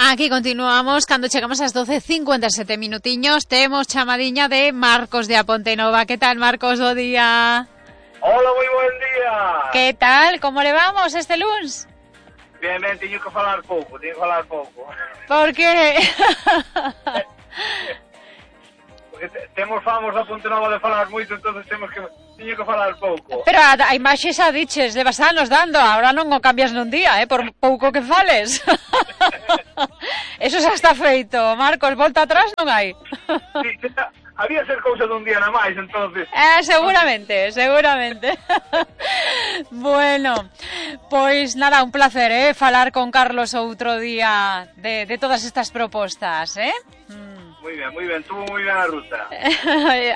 Aquí continuamos, cando chegamos ás 12:57 minutiños, temos chamadiña de Marcos de A Pontenova. Que tal, Marcos, bo día? Hola, moi buen día. Que tal, como le vamos este luns? Bien, teño que falar pouco. Por que? Porque temos famos da Pontenova de falar moito, entonces teño que falar pouco. Pero a imaxe xa diches, levas anos dando, ahora non o cambias nun día, por pouco que fales. Eso xa está feito, Marcos, volta atrás non hai. Sí, había ser cousa dun día na máis, entonces. Seguramente. Bueno, pois nada, un placer, falar con Carlos outro día de todas estas propostas, Moi ben, tuvo moi ben a ruta.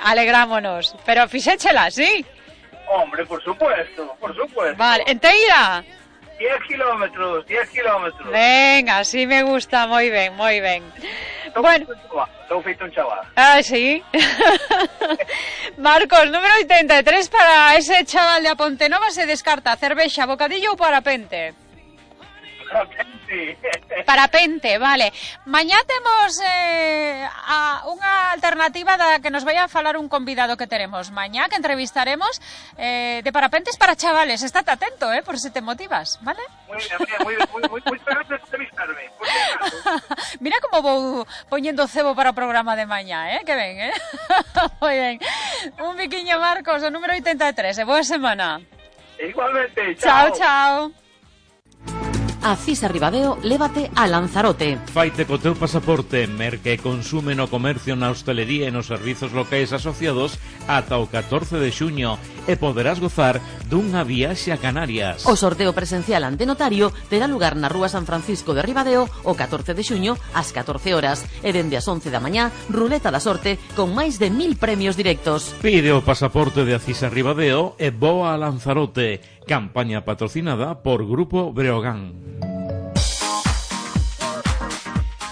Alegrámonos, pero fixéchela, sí? Hombre, por supuesto. Vale, enteira? 10 kilómetros. Venga, así me gusta, moi ben. Bueno. Estou feito un chaval. Sí. Marcos, número 83 para ese chaval de A Pontenova se descarta cervexa, bocadillo ou parapente? Parapente, vale. Mañá temos unha alternativa da que nos vai a falar un convidado que teremos mañá, que entrevistaremos de parapentes para chavales. Estate atento, por se te motivas, vale? Moi esperando entrevistarme. Mira como vou poñendo cebo para o programa de mañá, que ben, Moi ben. Un biquiño, Marcos, o número 83, boa semana. Igualmente, chao. A CISA Ribadeo lévate a Lanzarote. Faite co teu pasaporte, merca e consume no comercio, na hostelería e nos servizos locais asociados ata o 14 de xuño e poderás gozar dunha viaxe a Canarias. O sorteo presencial ante notario terá lugar na Rúa San Francisco de Ribadeo o 14 de xuño ás 14 horas e dende as 11 da mañá, ruleta da sorte con máis de 1000 premios directos. Pide o pasaporte de a CISA Ribadeo e voa a Lanzarote. Campaña patrocinada por Grupo Breogán.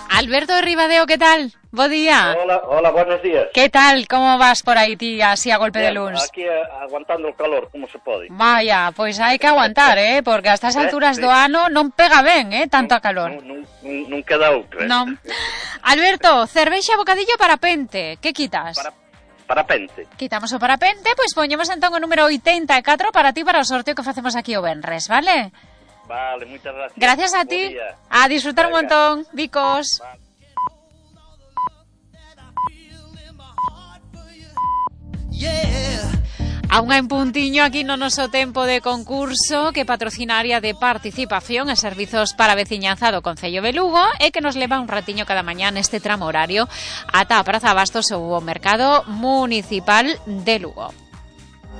Alberto de Ribadeo, ¿qué tal? Bo día. Hola, buenos días. ¿Qué tal? ¿Cómo vas por aí, ti, así a golpe de luns? Aquí aguantando o calor, como se pode. Vaya, pois hai que aguantar, porque a estas alturas do ano non pega ben, tanto a calor. Non queda outra. Non. Alberto, cervexa, bocadillo, parapente. Que quitas? Parapente. Quitamos o parapente, pois poñemos entón o número 84 para ti para o sorteo que facemos aquí o venres, vale? Vale, moitas gracias. Gracias a ti. A disfrutar un montón, bicos. A unha en puntiño aquí no noso tempo de concurso que patrocina a área de participación e servizos para veciñanza do Concello de Lugo e que nos leva un ratiño cada mañá neste tramo horario ata a Praza Bastos ou o Mercado Municipal de Lugo.